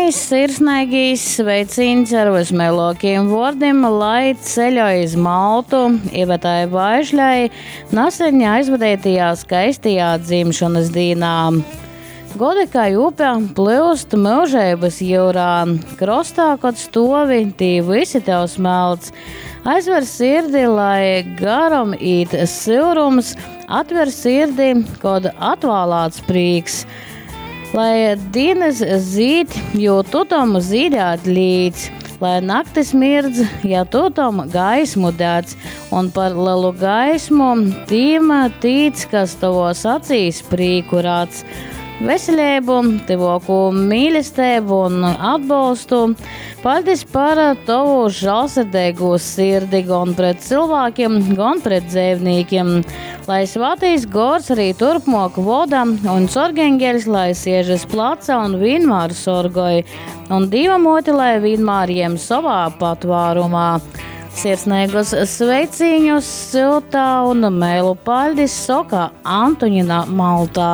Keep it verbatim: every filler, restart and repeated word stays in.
Pyrmīs sirsneigīs sveicīņs ar vysmeilōkajim vōrdim, lai ceļoj iz Maltu Ivetai Vaišļai naseņ aizvadeitajā skaistajā dzimšonys dīnā. Godi kai upe plyust myužeibys jyurā, krostā, kod stuovi, tī vysi tev smelc. Aizver sirdi, lai garom īt syurums, atver sirdi, kod atvālāts prīks. Lai dīnys zīd, jo tu tom zīdēt līdz, lai naktis mirdz, ja tu tom gaismu dec, un par lelu gaismu tīm tīc, kas tovos acīs prīku radz. Veseleibu, tyvuokū mīlesteibu un atbolstu. Paļdis par tovu žālsirdeigū sirdi gon pret cylvākim, gon pret dzeivnīkim. Lai Svātais Gors arī turpmok voda un sorgeņgeļs, lai siež iz placa un vienmēr sorgoj, un Dīva muote, lai vienmēr jem sovā patvārumā. Sirsneigus sveicīņus syuta un meilu paļdis soka Antoņina Maltā.